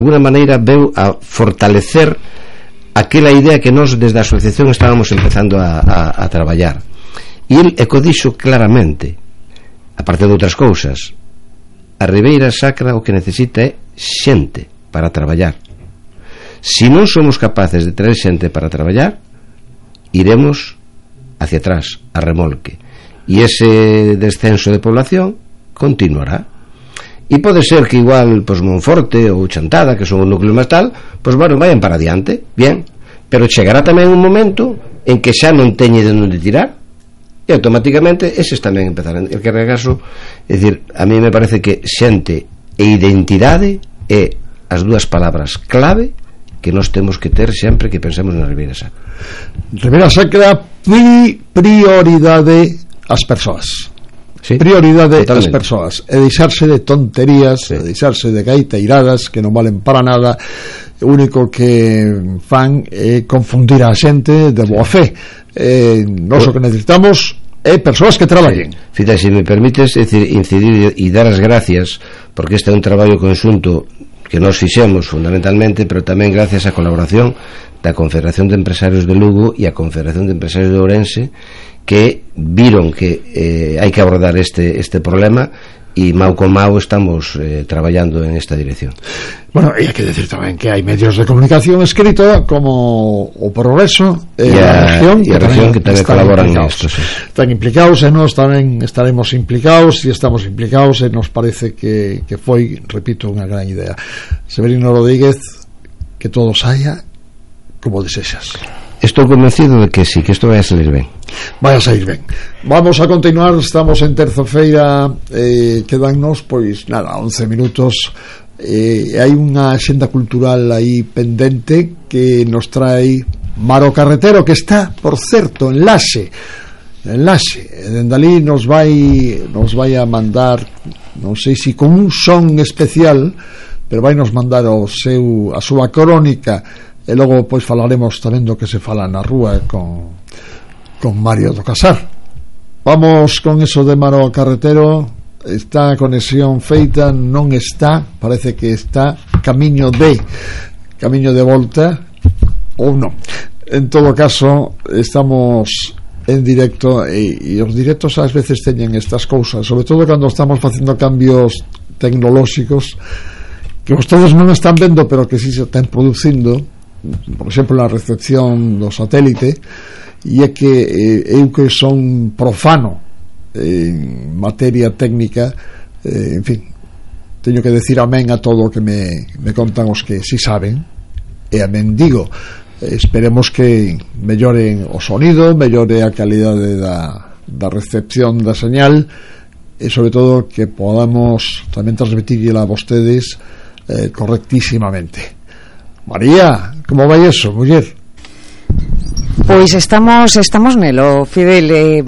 alguna maneira veu a fortalecer aquela idea que nós desde a asociación estábamos empezando a traballar. E el dixo claramente, aparte de outras cousas, a Ribeira Sacra o que necesita é xente para traballar. Se non somos capaces de traer xente para traballar, iremos hacia atrás, a remolque, e ese descenso de población continuará. E pode ser que igual Monforte ou Chantada, que son o núcleo máis tal, bueno, vayan para adiante, bien, pero chegará tamén un momento en que xa non teñe de onde tirar, e automáticamente eses tamén empezarán. El que regaso, é dicir, a mí me parece que xente e identidade é as dúas palabras clave que nós temos que ter sempre que pensemos na Ribeira Sacra. Ribeira Sacra, prioridade ás persoas. Sí, prioridade das persoas, e deixarse de tonterías, sí, e deixarse de gaiteiradas que non valen para nada. O único que fan é confundir a xente de boa fe. Nós o que necesitamos é persoas que traballen. Fita, se me permites, é dicir, incidir e dar as gracias, porque este é un traballo conxunto que nós fixemos fundamentalmente, pero tamén gracias á colaboración da Confederación de Empresarios de Lugo e a Confederación de Empresarios de Ourense, que viron que hai que abordar este problema, e mau con mau estamos traballando en esta dirección. Bueno, e hai que decir tamén que hai medios de comunicación escrito como o Progreso e a Región que tamén colaboran nisto, sí. Están implicados, e nós tamén estaremos implicados, e estamos implicados, e nos parece que foi, repito, unha gran idea. Severino Rodríguez, que todo saia como desexas. Estou convencido de que sí, que isto vai a salir ben. Vai a sair ben. Vamos a continuar, estamos en terza-feira, quedannos, pois, 11 minutos. Hai unha axenda cultural aí pendente que nos trae Maro Carretero, que está, por certo, en Laxe. Dende ali nos vai a mandar, non sei se con un son especial, pero vai nos mandar a súa crónica. E logo pois falaremos tamén do que se fala na rúa con Mario do Casar. Vamos con eso de Maro Carretero. Está a conexión feita, non está, parece que está camiño de volta ou non. En todo caso, estamos en directo, e os directos ás veces teñen estas cousas, sobre todo cando estamos facendo cambios tecnolóxicos que vostedes non están vendo, pero que si se están producindo. Por exemplo, na recepción do satélite, e é que eu que son profano en materia técnica, en fin, teño que decir amén a todo o que me contan os que si saben, e amén digo, esperemos que melloren o sonido, mellore a calidade da recepción da señal, e sobre todo que podamos tamén transmitirla a vostedes correctísimamente. María, como vai eso, muller? Pois estamos nelo, Fidel.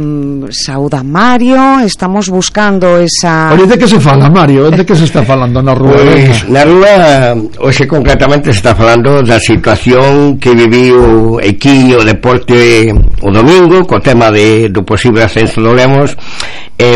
Sauda Mario, estamos buscando esa... Oye, de que se fala, Mario? De que se está falando na rúa? Pois, na rúa, hoxe concretamente se está falando da situación que viviu aquí o deporte o domingo, co tema do posible ascenso do Lemos.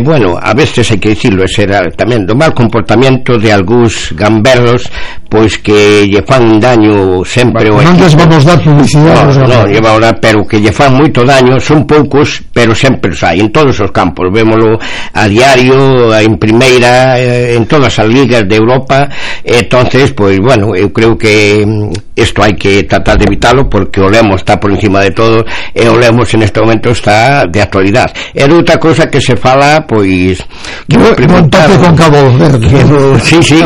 Bueno, a veces hai que dicirlo, será tamén do mal comportamento de algúns gamberros, pois que lle fan un daño sempre. Non les vamos dar publicidade. Non, lle va a dar, pero que lle fan moito daño, son poucos, pero sempre os hai, en todos os campos, vémolo a diario, en primeira, en todas as ligas de Europa. Entonces, pois, bueno, eu creo que isto hai que tratar de evitalo, porque o Lemos está por encima de todo, e o Lemos en este momento está de actualidade. É outra cosa que se fala, pois, que me preguntaron con Cabo Verde, sí,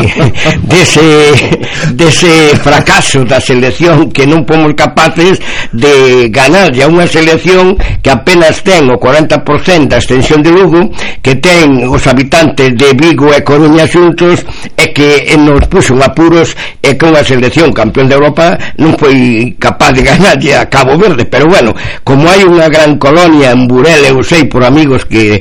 dese fracaso da selección, que non fomos capaces de ganar a unha selección que apenas ten o 40% da extensión de Lugo, que ten os habitantes de Vigo e Coruña xuntos, e que nos puxo en apuros, e que unha selección campeón de Europa non foi capaz de ganar a Cabo Verde. Pero bueno, como hai unha gran colonia en Burela, eu sei por amigos que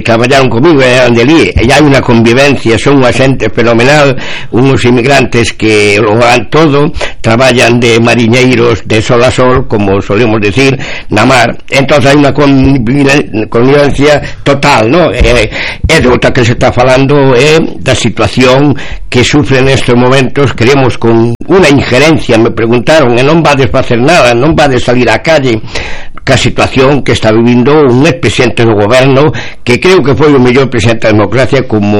traballaron comigo e ali, e hai unha convivencia, son unha xente fenomenal, unos inmigrantes que lo van todo, traballan de mariñeiros de sol a sol, como solemos decir, na mar. Entonces hai unha connivencia total, ¿no? E de outra que se está falando da situación que sufre nestes momentos, queremos con unha injerencia, me preguntaron, e non vades facer nada, non vades salir á calle, ca situación que está vivindo un expresidente do goberno que creo que foi o mellor presidente da democracia, como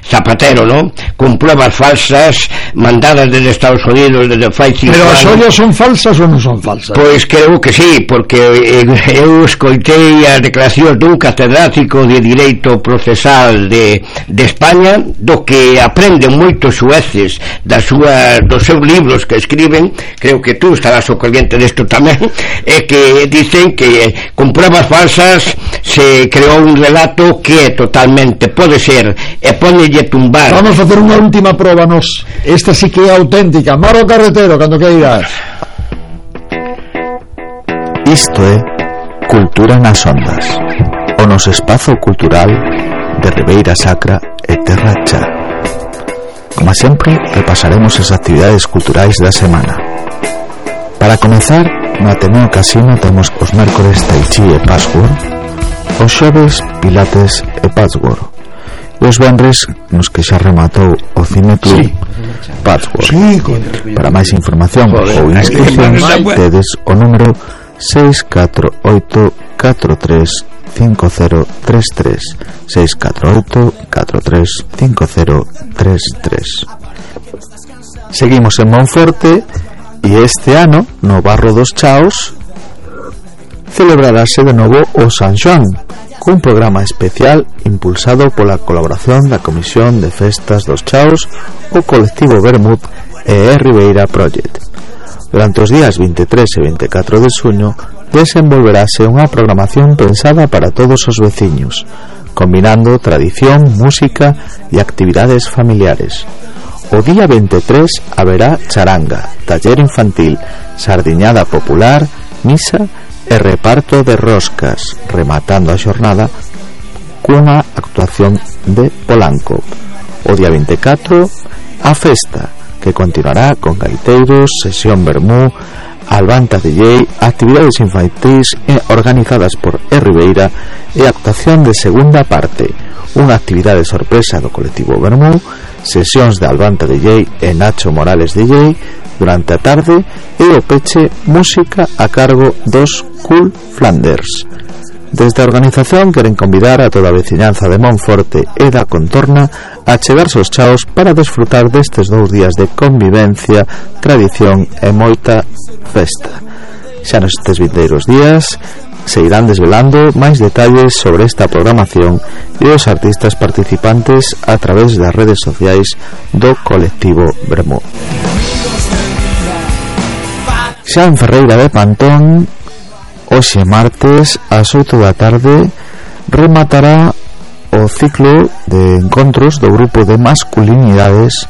Zapatero, ¿no? Con pruebas falsas mandadas desde Estados Unidos desde fai 5 anos. Pero as ollas son falsas ou non son falsas? Pois creo que sí, porque eu escoitei as declaracións dun catedrático de Direito Procesal de España, do que aprenden moitos xueces dos seus libros que escriben, creo que tú estarás ao corriente desto tamén, é que dicen que con pruebas falsas se creou un relato que totalmente pode ser e ponelle tumbar. Vamos a facer unha última proba nos. Esta sí que é auténtica. Maro Carretero, cando queiras. Isto é Cultura nas Ondas, o noso espazo cultural de Ribeira Sacra e Terra Cha. Como sempre, repasaremos as actividades culturais da semana. Para comezar, no Ateneo Casino temos os mércores Tai Chi e Password, os xoves Pilates e Password, e os venres nos que xa rematou o Cine Club Password. Para máis información ou inscripcións tedes o número 648-43-5033, 648-43-5033. Seguimos en Monforte e este ano no Barro dos Chaos celebrarase de novo o San Xoán, cun programa especial impulsado pola colaboración da Comisión de Festas dos Chaos, o colectivo Bermud e Ribeira Project. Durante os días 23 e 24 de xuño desenvolverase unha programación pensada para todos os veciños, combinando tradición, música e actividades familiares. O día 23 haberá charanga, taller infantil, sardiñada popular, misa e reparto de roscas, rematando a xornada cunha actuación de Polanco. O día 24 a festa, que continuará con gaiteiros, sesión vermú, albanta DJ, actividades infantis organizadas por Ribeira e actuación de segunda parte, unha actividade sorpresa do colectivo Vermú, sesións de albanta DJ e Nacho Morales DJ durante a tarde e o peche música a cargo dos Cool Flanders. Desde a organización queren convidar a toda a veciñanza de Monforte e da contorna a chegarse aos chaos para desfrutar destes 2 días de convivencia, tradición e moita festa. Xa nestes vindeiros días se irán desvelando máis detalles sobre esta programación e os artistas participantes a través das redes sociais do colectivo Bermú. Xa en Ferreira de Pantón, hoxe martes ás 8 da tarde rematará o ciclo de encontros do grupo de masculinidades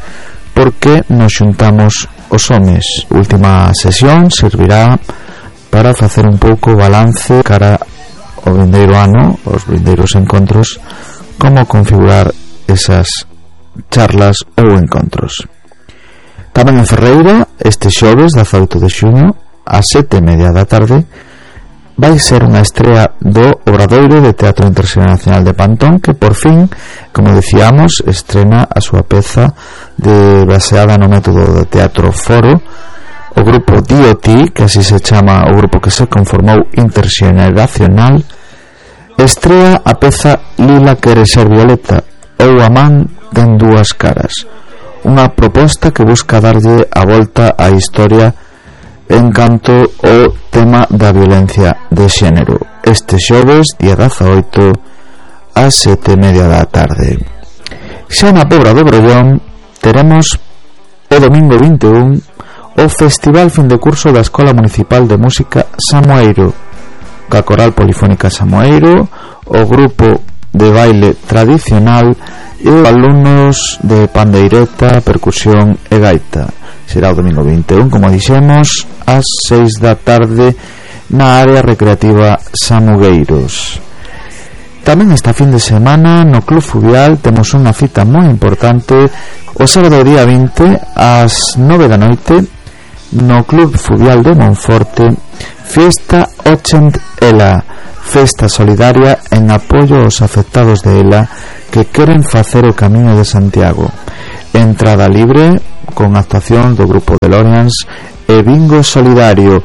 porque nos xuntamos os homes. A última sesión servirá para facer un pouco balance cara ao vindeiro ano, os vindeiros encontros, como configurar esas charlas ou encontros. Tamén en Ferreira, este xoves 18 de xuño ás 7:30 da tarde vai ser unha estrea do Obradoiro de Teatro Internacional de Pantón, que por fin, como decíamos, estrena a súa peza baseada no método de teatro foro. O grupo DOT, que así se chama o grupo que se conformou interxeneracional, estrea a peza Lila quere ser violeta, ou a man ten dúas caras, unha proposta que busca darlle a volta á historia en canto ao tema da violencia de xénero. Este xoves, día 18, ás 7:30 da tarde. Xa na Pobra do Brollón teremos o domingo 21 o Festival Fin de Curso da Escola Municipal de Música Samoeiro, ca Coral Polifónica Samoeiro, o grupo de baile tradicional e os alumnos de pandeireta, percusión e gaita. Será o domingo 21, como dixemos, ás 6 da tarde na área recreativa Samugueiros. Tamén esta fin de semana no Club Fluvial temos unha cita moi importante o sábado día 20 ás 9 da noite no Club Fluvial de Monforte, Fiesta 80 ELA, festa solidaria en apoio aos afectados de ELA que queren facer o Camiño de Santiago. Entrada libre con actuación do grupo de Lorians e bingo solidario.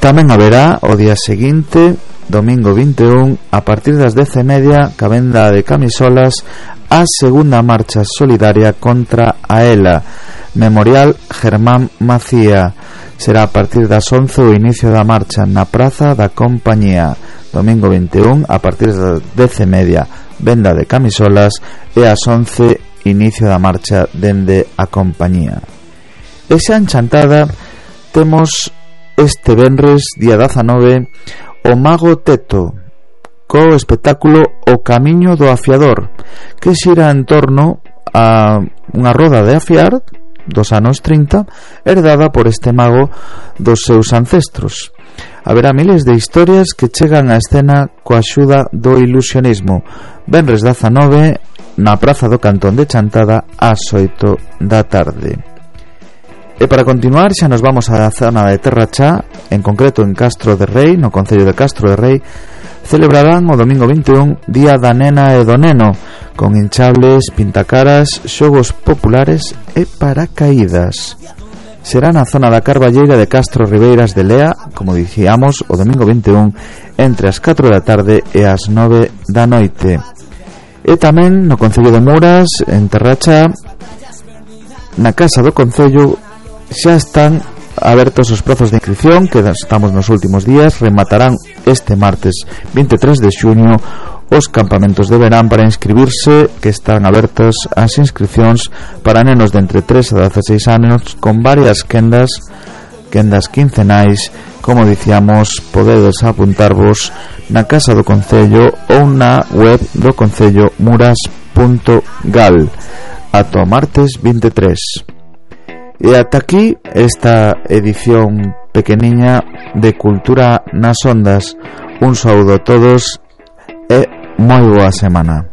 Tamén haberá o día seguinte, domingo 21, a partir das 10:30, ca venda de camisolas, a segunda marcha solidaria contra a ELA, Memorial Germán Macía. Será a partir das 11 o inicio da marcha na Praza da Compañía. Domingo 21, a partir das 10:30, venda de camisolas, e ás 11 inicio da marcha dende a Compañía. E xa en Chantada temos este venres, día 19, o Mago Teto, co espectáculo O Camiño do Afiador, que xira en torno a unha roda de afiar dos anos 30, herdada por este mago dos seus ancestros. Haberá miles de historias que chegan á escena coa axuda do ilusionismo. Venres 19, na Praza do Cantón de Chantada, ás 8 da tarde. E para continuar, xa nos vamos á zona de Terrachá, en concreto en Castro de Rei, no concello de Castro de Rei. Celebrarán o domingo 21 Día da Nena e do Neno, con hinchables, pintacaras, xogos populares e paracaídas. Será na zona da Carballeira de Castro Ribeiras de Lea, como dixíamos, o domingo 21, entre as 4 da tarde e as 9 da noite. E tamén no concello de Muras, en Terrachá, na Casa do Concello, xa están abertos os prazos de inscripción, que estamos nos últimos días. Rematarán este martes 23 de xuño os campamentos de verán para inscribirse, que están abertas as inscripcións para nenos de entre 3 a 16 anos, con varias quendas quincenais. Como dicíamos, podedes apuntarvos na Casa do Concello ou na web do Concello muras.gal ata o martes 23. E ata aquí esta edición pequeniña de Cultura nas Ondas. Un saúdo a todos e moi boa semana.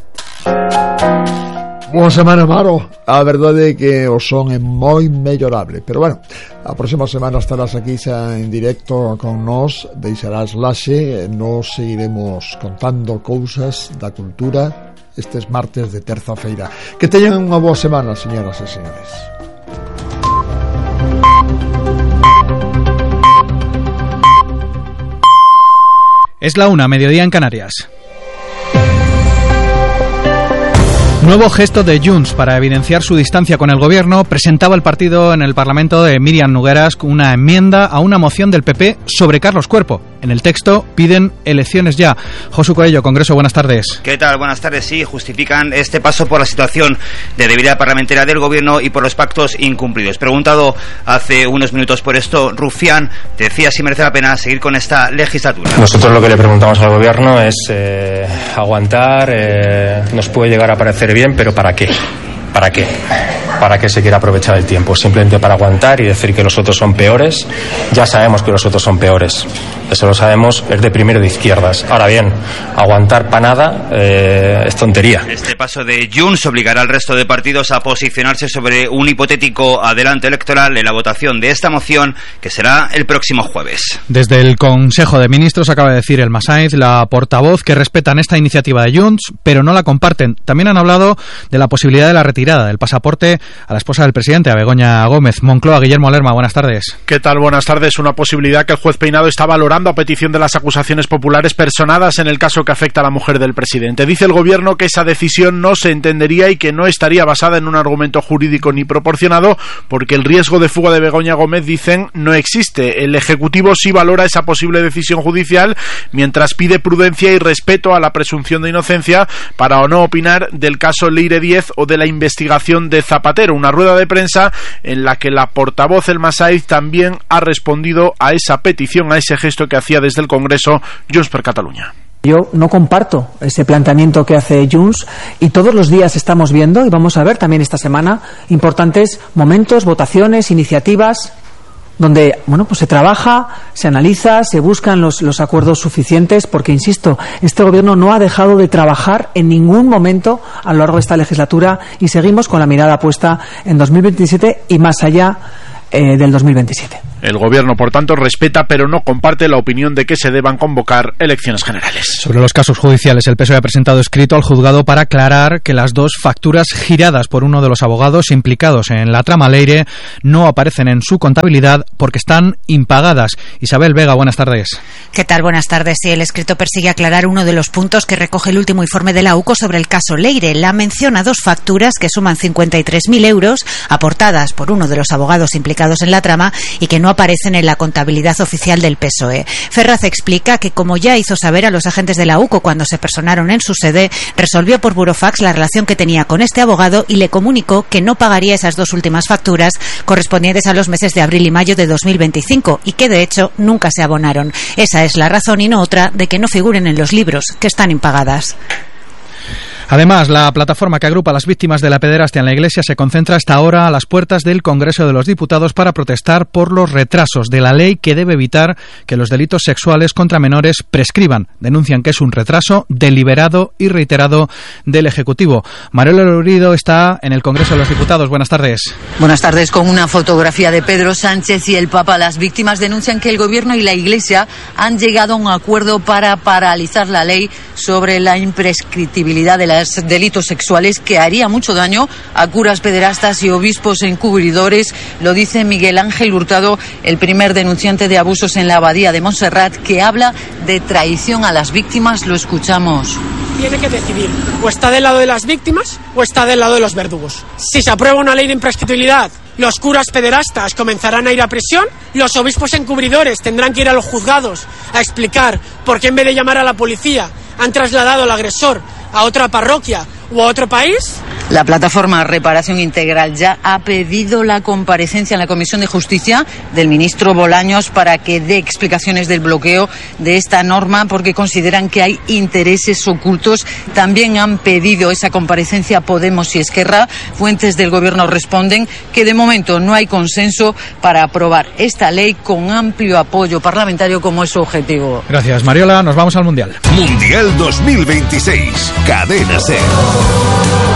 Boa semana, Maro. A verdade é que o son é moi mellorable, pero bueno, a próxima semana estarás aquí xa en directo con nós, deixarás laxe, nos seguiremos contando cousas da cultura estes martes de terza-feira. Que teñan unha boa semana, señoras e señores. Es la 1, mediodía en Canarias. Nuevo gesto de Junts para evidenciar su distancia con el gobierno. Presentaba el partido en el Parlamento de Míriam Nogueras una enmienda a una moción del PP sobre Carlos Cuerpo. En el texto piden elecciones ya. Josu Coello, Congreso, buenas tardes. ¿Qué tal? Buenas tardes. Sí, justifican este paso por la situación de debilidad parlamentaria del gobierno y por los pactos incumplidos. Preguntado hace unos minutos por esto, Rufián decía si merece la pena seguir con esta legislatura. Nosotros lo que le preguntamos al gobierno es aguantar, nos puede llegar a parecer bien, pero ¿para qué? ¿Para qué? ¿Para qué se quiere aprovechar el tiempo? Simplemente para aguantar y decir que los otros son peores. Ya sabemos que los otros son peores. Eso lo sabemos, es de primero de izquierdas. Ahora bien, aguantar para nada es tontería. Este paso de Junts obligará al resto de partidos a posicionarse sobre un hipotético adelanto electoral en la votación de esta moción, que será el próximo jueves. Desde el Consejo de Ministros acaba de decir el Masaiz, la portavoz, que respetan esta iniciativa de Junts, pero no la comparten. También han hablado de la posibilidad de la retirada del pasaporte a la esposa del presidente, a Begoña Gómez. Moncloa, Guillermo Lerma, buenas tardes. ¿Qué tal? Buenas tardes. Una posibilidad que el juez Peinado está valorando a petición de las acusaciones populares personadas en el caso que afecta a la mujer del presidente. Dice el gobierno que esa decisión no se entendería y que no estaría basada en un argumento jurídico ni proporcionado, porque el riesgo de fuga de Begoña Gómez, dicen, no existe. El Ejecutivo sí valora esa posible decisión judicial, mientras pide prudencia y respeto a la presunción de inocencia para o no opinar del caso Leire 10 o de la investigación de Zapatero. Una rueda de prensa en la que la portavoz El Masaiz también ha respondido a esa petición, a ese gesto que hacía desde el Congreso Junts per Catalunya. Yo no comparto ese planteamiento que hace Junts y todos los días estamos viendo, y vamos a ver también esta semana, importantes momentos, votaciones, iniciativas donde, bueno, pues se trabaja, se analiza, se buscan los acuerdos suficientes, porque, insisto, este gobierno no ha dejado de trabajar en ningún momento a lo largo de esta legislatura y seguimos con la mirada puesta en 2027 y más allá del 2027. El gobierno, por tanto, respeta pero no comparte la opinión de que se deban convocar elecciones generales. Sobre los casos judiciales, el PSOE ha presentado escrito al juzgado para aclarar que las 2 facturas giradas por uno de los abogados implicados en la trama Leire no aparecen en su contabilidad porque están impagadas. Isabel Vega, buenas tardes. ¿Qué tal? Buenas tardes. Sí, el escrito persigue aclarar uno de los puntos que recoge el último informe de la UCO sobre el caso Leire. La menciona 2 facturas que suman 53.000 euros aportadas por uno de los abogados implicados en la trama y que no aparecen en la contabilidad oficial del PSOE. Ferraz explica que, como ya hizo saber a los agentes de la UCO cuando se personaron en su sede, resolvió por burofax la relación que tenía con este abogado y le comunicó que no pagaría esas 2 últimas facturas correspondientes a los meses de abril y mayo de 2025 y que, de hecho, nunca se abonaron. Esa es la razón y no otra de que no figuren en los libros, que están impagadas. Además, la plataforma que agrupa a las víctimas de la pederastia en la Iglesia se concentra hasta ahora a las puertas del Congreso de los Diputados para protestar por los retrasos de la ley que debe evitar que los delitos sexuales contra menores prescriban. Denuncian que es un retraso deliberado y reiterado del Ejecutivo. Manuel Lorido está en el Congreso de los Diputados. Buenas tardes. Buenas tardes. Con una fotografía de Pedro Sánchez y el Papa, las víctimas denuncian que el Gobierno y la Iglesia han llegado a un acuerdo para paralizar la ley sobre la imprescriptibilidad de los delitos sexuales que haría mucho daño a curas pederastas y obispos encubridores. Lo dice Miguel Ángel Hurtado, el primer denunciante de abusos en la abadía de Montserrat, que habla de traición a las víctimas. Lo escuchamos. Tiene que decidir, o está del lado de las víctimas o está del lado de los verdugos. Si se aprueba una ley de imprescriptibilidad, los curas pederastas comenzarán a ir a prisión, los obispos encubridores tendrán que ir a los juzgados a explicar por qué en vez de llamar a la policía han trasladado al agresor a otra parroquia o a otro país. La plataforma Reparación Integral ya ha pedido la comparecencia en la Comisión de Justicia del ministro Bolaños para que dé explicaciones del bloqueo de esta norma, porque consideran que hay intereses ocultos. También han pedido esa comparecencia Podemos y Esquerra. Fuentes del Gobierno responden que de momento no hay consenso para aprobar esta ley con amplio apoyo parlamentario, como es su objetivo. Gracias, Mariola. Nos vamos al Mundial. Mundial 2026. Cadena SER.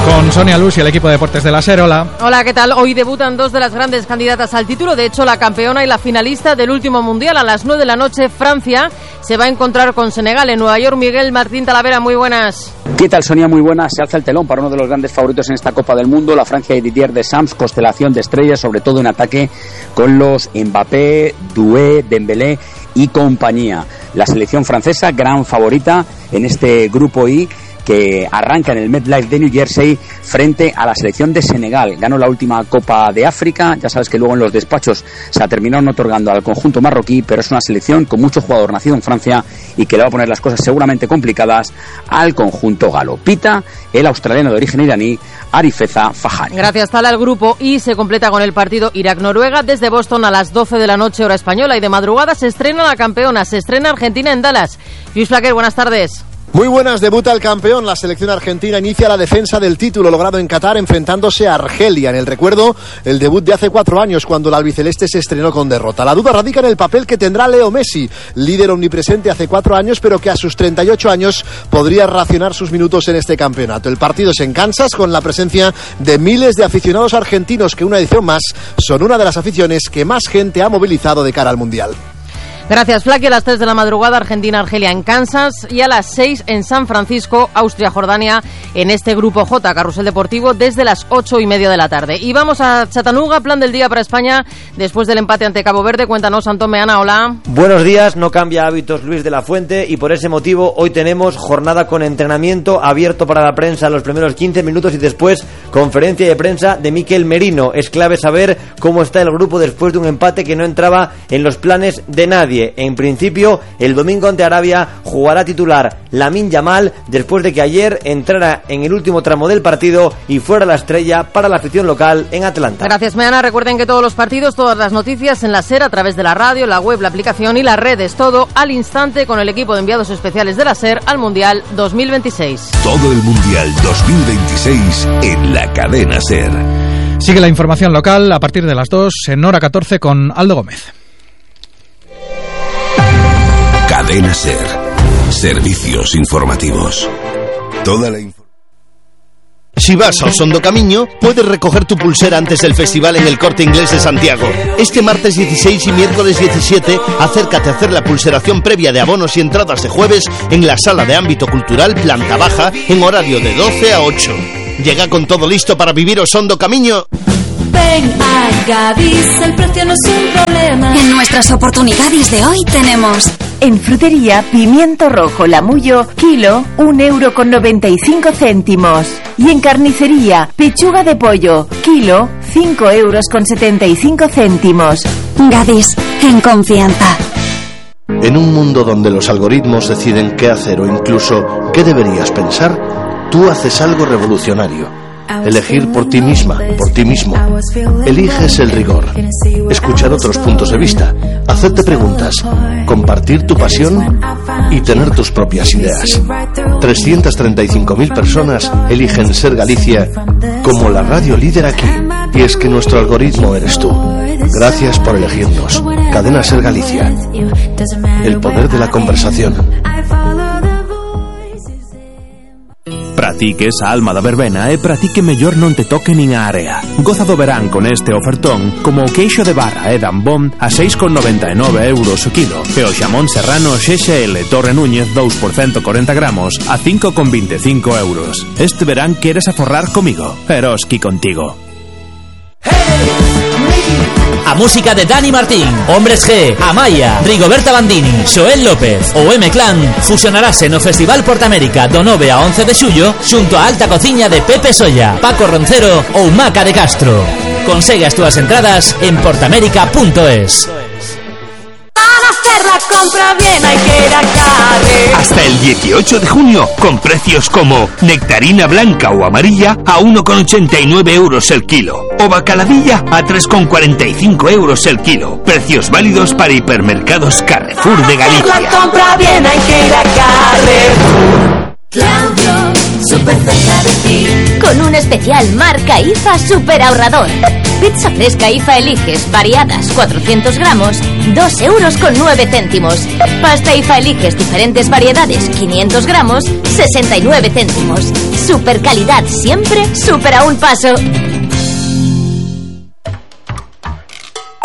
Con Sonia Luz y el equipo de deportes de la SER. Hola. Hola, ¿qué tal? Hoy debutan 2 de las grandes candidatas al título. De hecho, la campeona y la finalista del último Mundial. A las 9 de la noche, Francia se va a encontrar con Senegal en Nueva York. Miguel Martín Talavera, muy buenas. ¿Qué tal, Sonia? Muy buenas. Se alza el telón para uno de los grandes favoritos en esta Copa del Mundo, la Francia de Didier Deschamps, constelación de estrellas, sobre todo en ataque con los Mbappé, Doué, Dembélé y compañía. La selección francesa, gran favorita en este grupo I, que arranca en el MetLife de New Jersey frente a la selección de Senegal. Ganó la última Copa de África, ya sabes que luego en los despachos se la terminaron otorgando al conjunto marroquí, pero es una selección con mucho jugador nacido en Francia y que le va a poner las cosas seguramente complicadas al conjunto galo. Pita el australiano de origen iraní, Arifeza Fahari. Gracias, Tala. El grupo I se completa con el partido Irak-Noruega desde Boston a las 12 de la noche, hora española, y de madrugada se estrena la campeona, se estrena Argentina en Dallas. Luis Flaquer, buenas tardes. Muy buenas, debuta el campeón. La selección argentina inicia la defensa del título logrado en Qatar enfrentándose a Argelia. En el recuerdo, el debut de hace 4 años cuando el albiceleste se estrenó con derrota. La duda radica en el papel que tendrá Leo Messi, líder omnipresente hace 4 años, pero que a sus 38 años podría racionar sus minutos en este campeonato. El partido es en Kansas con la presencia de miles de aficionados argentinos que una edición más son una de las aficiones que más gente ha movilizado de cara al Mundial. Gracias, Flaky. A las 3 de la madrugada, Argentina-Argelia en Kansas, y a las 6 en San Francisco, Austria-Jordania, en este grupo J, Carrusel Deportivo, desde las 8:30 de la tarde. Y vamos a Chattanooga, plan del día para España después del empate ante Cabo Verde. Cuéntanos, Antón Meana, hola. Buenos días. No cambia hábitos Luis de la Fuente y por ese motivo hoy tenemos jornada con entrenamiento abierto para la prensa los primeros 15 minutos y después conferencia de prensa de Mikel Merino. Es clave saber cómo está el grupo después de un empate que no entraba en los planes de nadie. En principio, el domingo ante Arabia jugará titular Lamine Yamal después de que ayer entrara en el último tramo del partido y fuera la estrella para la afición local en Atlanta. Gracias, Meana. Recuerden que todos los partidos, todas las noticias en la SER, a través de la radio, la web, la aplicación y las redes. Todo al instante con el equipo de enviados especiales de la SER al Mundial 2026. Todo el Mundial 2026 en la cadena SER. Sigue la información local a partir de las 2 en hora 14 con Aldo Gómez. Cadena SER. Servicios informativos. Toda la información. Si vas ao Son do Camiño, puedes recoger tu pulsera antes del festival en el Corte Inglés de Santiago. Este martes 16 y miércoles 17, acércate a hacer la pulseración previa de abonos y entradas de jueves en la Sala de Ámbito Cultural Planta Baja en horario de 12 a 8. Llega con todo listo para vivir o Son do Camiño. Ven a Gadis, el precio no es un problema. En nuestras oportunidades de hoy tenemos... En frutería, pimiento rojo Lamullo, kilo, 1,95 €. Y en carnicería, pechuga de pollo, kilo, 5,75 €. Gadis, en confianza. En un mundo donde los algoritmos deciden qué hacer o incluso qué deberías pensar, tú haces algo revolucionario. Elegir por ti misma, por ti mismo. Eliges el rigor. Escuchar otros puntos de vista. Hacerte preguntas. Compartir tu pasión y tener tus propias ideas. 335.000 personas eligen ser Galicia como la radio líder aquí. Y es que nuestro algoritmo eres tú. Gracias por elegirnos. Cadena Ser Galicia. El poder de la conversación. Para ti que esa alma da verbena e para ti que mellor non te toque nin a area. Goza do verán con este ofertón como o queixo de barra e dambón a 6,99 € o kilo e o xamón serrano XXL Torre Núñez 2 por 140 gramos a 5,25 €. Este verán queres aforrar comigo, Eroski contigo. A música de Dani Martín, Hombres G, Amaya, Rigoberta Bandini, Xoel López ou M-Clan fusionarase no Festival Portamérica do 9 a 11 de xullo xunto a alta cociña de Pepe Solla, Paco Roncero ou Maca de Castro. Consegue as túas entradas en portamérica.es. La compra bien hay que ir a Carre. Hasta el 18 de junio, con precios como nectarina blanca o amarilla a 1,89 € el kilo, o bacaladilla a 3,45 € el kilo. Precios válidos para hipermercados Carrefour de Galicia. La compra bien hay que ir a Carrefour. Claudio, súper cerca de ti. Con un especial marca IFA super ahorrador. Pizza fresca IFA Eliges, variadas, 400 gramos, 2,09 €. Pasta IFA Eliges, diferentes variedades, 500 gramos, 69 céntimos. Super calidad siempre, super a un paso.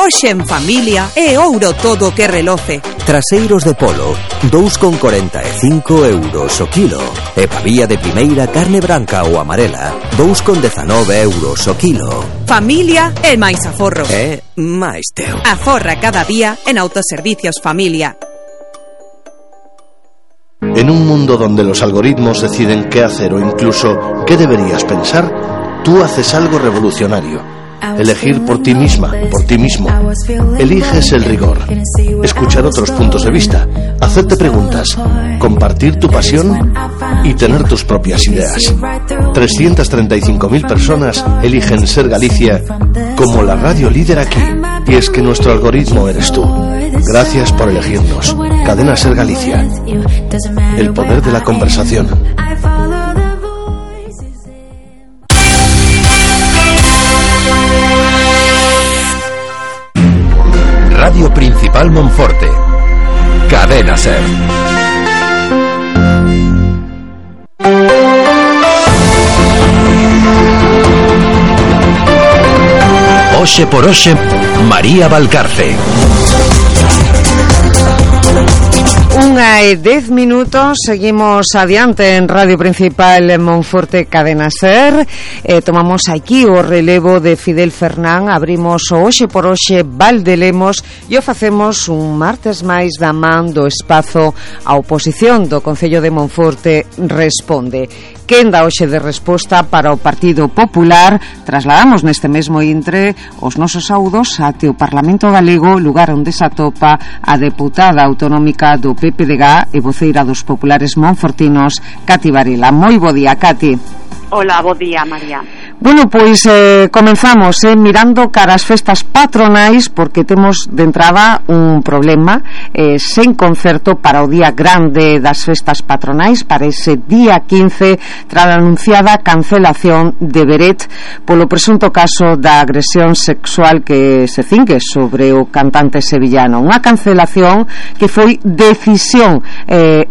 Hoxe en familia é ouro todo que reloce. Traseiros de polo, 2,45 € o kilo. E pavía de primeira carne branca ou amarela, 2,19 € o kilo. Familia e máis aforro. E máis teu. Aforra cada día en Autoservicios Familia. En un mundo donde los algoritmos deciden qué hacer o incluso qué deberías pensar, tú haces algo revolucionario. Elegir por ti misma, por ti mismo. Eliges el rigor. Escuchar otros puntos de vista. Hacerte preguntas. Compartir tu pasión y tener tus propias ideas. 335.000 personas eligen ser Galicia como la radio líder aquí. Y es que nuestro algoritmo eres tú. Gracias por elegirnos. Cadena Ser Galicia. El poder de la conversación. Radio Principal Monforte. Cadena Ser. Oxe por Oxe, María Valcarce. 1:10, seguimos adiante en Radio Principal en Monforte Cadena Ser. Tomamos aquí o relevo de Fidel Fernán, abrimos o Oxe por Oxe Valdelemos e o facemos un martes máis da man do espazo a oposición do Concello de Monforte Responde. Quen dá hoxe de resposta para o Partido Popular? Trasladamos neste mesmo intre os nosos saúdos até o Parlamento Galego, lugar onde se atopa a deputada autonómica do PPDG e voceira dos populares monfortinos, Cati Varela. Moi bo día, Cati. Hola, bo día, María. Bueno, pois comenzamos mirando cara as festas patronais, porque temos de entrada un problema sen concerto para o día grande das festas patronais, para ese día 15, tras a anunciada cancelación de Beret polo presunto caso da agresión sexual que se cingue sobre o cantante sevillano. Unha cancelación que foi decisión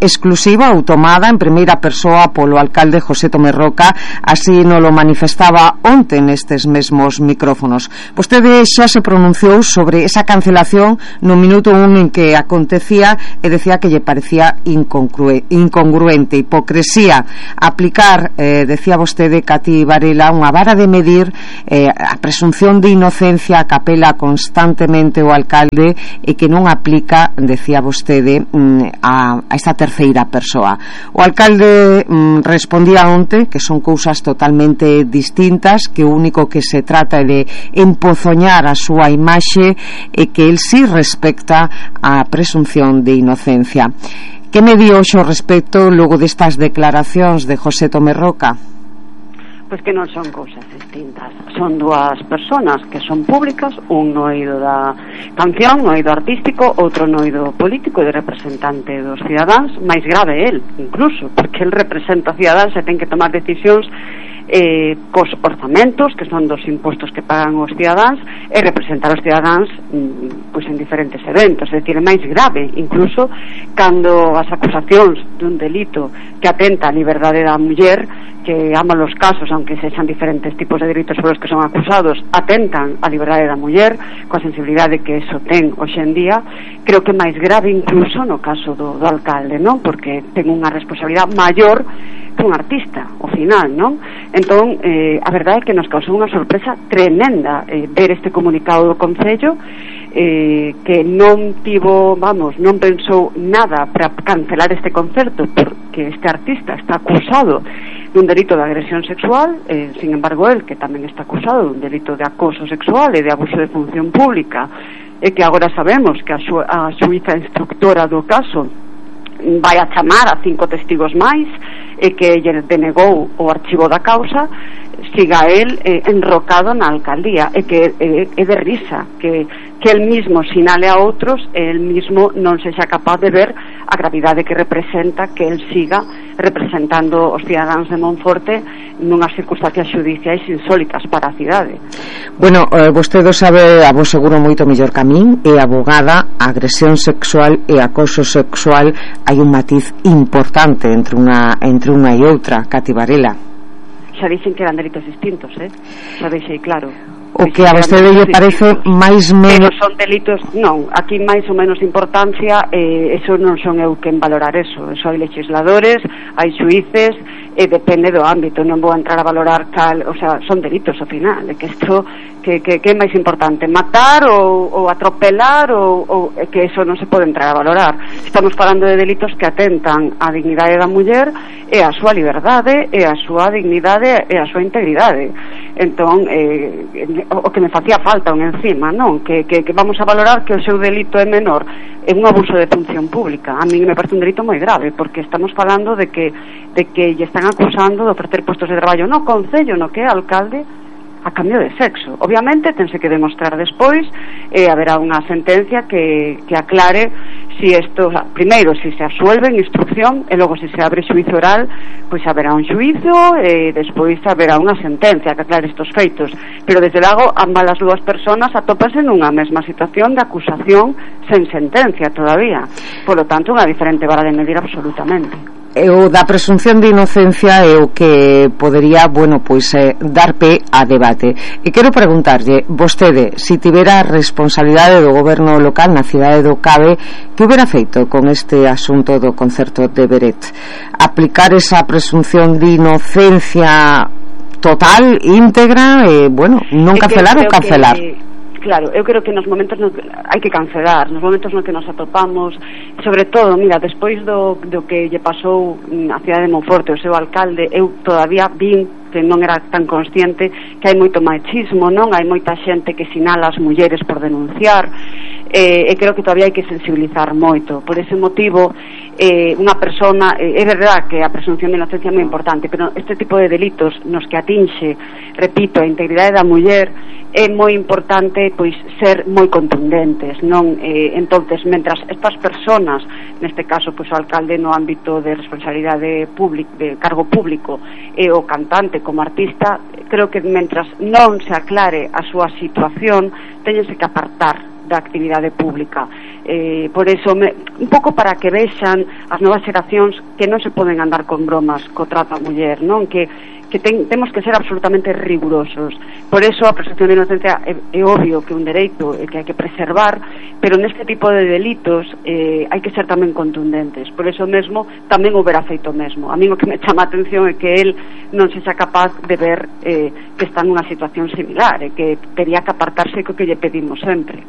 exclusiva ou tomada en primeira persoa polo alcalde José Tomé Roca, así nos lo manifestaba onte nestes mesmos micrófonos. Vostede xa se pronunciou sobre esa cancelación no minuto 1 en que acontecía e decía que lle parecía incongruente, hipocresía aplicar, decía vostede, Cati Varela, unha vara de medir a presunción de inocencia que apela constantemente o alcalde e que non aplica, decía vostede, a esta terceira persoa. O alcalde respondía onte que son cousas totalmente distintas, que o único que se trata é de empozoñar a súa imaxe e que el sí respecta a presunción de inocencia. Que me dio xo respecto logo destas declaracións de José Tomé Roca? Pois que non son cousas distintas, son dúas persoas que son públicas, un no eido da canción, no eido artístico, outro no eido político de representante dos cidadáns, máis grave el, incluso, porque el representa cidadáns e ten que tomar decisións cos orzamentos, que son dos impostos que pagan os cidadáns, e representar os cidadáns pois en diferentes eventos, é dicir, é máis grave incluso cando as acusacións dun delito que atenta á liberdade da muller, que ambos os casos, aunque sexan diferentes tipos de delitos polos que son acusados, atentan á liberdade da muller, coa sensibilidade que eso ten hoxe en día, creo que é máis grave incluso no caso do alcalde, non? Porque ten unha responsabilidade maior que un artista, ao final, non? Entón, a verdade é que nos causou unha sorpresa tremenda ver este comunicado do Concello, que non tivo, non pensou nada para cancelar este concerto, porque este artista está acusado dun delito de agresión sexual, sin embargo el, que tamén está acusado dun delito de acoso sexual e de abuso de función pública, e que agora sabemos que a xuíza instructora do caso vai a chamar a 5 testigos máis e que lle denegou o archivo da causa, siga el enrocado na alcaldía, e que é de risa que el mismo sinale a outros e el mismo non sexa capaz de ver a gravidade que representa que el siga representando os cidadáns de Monforte nunhas circunstancias xudiciais insólitas para a cidade. Bueno, vostede sabe, a vos seguro moito mellor que a min, é abogada, agresión sexual e acoso sexual, hai un matiz importante entre unha e outra, Cati Varela. Xa dixen que eran delitos distintos, xa deixei claro. O que a vostede lle parece máis menos... Pero son delitos, non, aquí máis ou menos importancia, eso non son eu quen valorar eso hai legisladores, hai xuíces, e depende do ámbito, non vou entrar a valorar o sea, son delitos ao final, que isto que é máis importante, matar ou atropelar ou que eso non se pode entrar a valorar. Estamos falando de delitos que atentan á dignidade da muller e a súa liberdade e a súa dignidade e a súa integridade. Entón, o que me facía falta un encima, non? Que vamos a valorar que o seu delito é menor, é un abuso de función pública. A mí me parece un delito moi grave, porque estamos falando de que lle están acusando de ofrecer postos de traballo no Concello, no que é alcalde, a cambio de sexo. Obviamente tense que demostrar despois, haberá unha sentencia que aclare si isto, primeiro, si se asuelve en instrucción, e logo si se abre xuizo oral, pois haberá un xuizo e despois haberá unha sentencia que aclare estos feitos. Pero desde logo ambas as dúas persoas atópanse nunha mesma situación de acusación sen sentencia todavía. Por lo tanto, unha diferente vara de medir absolutamente. O da presunción de inocencia é o que podería, dar pé a debate. E quero preguntarlle, vostede, se tivera responsabilidade do goberno local na cidade do Cabe, que hubiera feito con este asunto do concerto de Beret? Aplicar esa presunción de inocencia total, íntegra, non cancelar ou cancelar? Claro, eu creo que nos momentos hai que cancelar, nos momentos no que nos atopamos, sobre todo, mira, despois do que lle pasou a cidade de Monforte, o seu alcalde, eu todavía vin que non era tan consciente que hai moito machismo, non? Hai moita xente que sinala as mulleres por denunciar, e creo que todavía hai que sensibilizar moito. Por ese motivo, unha persona, é verdad que a presunción de inocencia é moi importante, pero este tipo de delitos nos que atinxe, repito, a integridade da muller, é moi importante pois ser moi contundentes, non? Entonces, mentras estas personas, neste caso pois o alcalde no ámbito de responsabilidade pública, de cargo público, e o cantante como artista, creo que mentras non se aclare a súa situación, teñense que apartar da actividade pública. Por eso, un pouco para que vexan as novas xeracións que non se poden andar con bromas co trato a muller, non? Que temos que ser absolutamente rigurosos. Por eso a presunción de inocencia é obvio que é un dereito que hai que preservar, pero neste tipo de delitos hai que ser tamén contundentes. Por eso mesmo tamén houbera feito mesmo. A mí o que me chama a atención é que el non se xa capaz de ver que está nunha situación similar e que tería que apartarse co que lle pedimos sempre.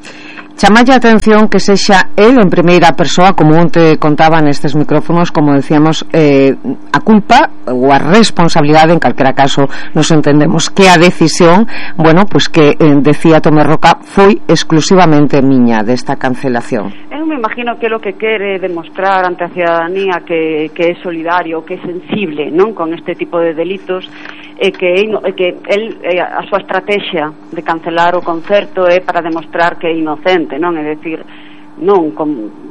Chamalle a atención que sexa el en primeira persoa, como onte contaba nestes micrófonos, como decíamos, a culpa ou a responsabilidade, en calquera caso nos entendemos que a decisión, bueno, pues que decía Tomé Roca, foi exclusivamente miña desta cancelación. Eu me imagino que é o que quere demostrar ante a ciudadanía que é solidario, que é sensible, non, con este tipo de delitos, e que el, a súa estrategia de cancelar o concerto é para demostrar que é inocente, non? É dicir, non,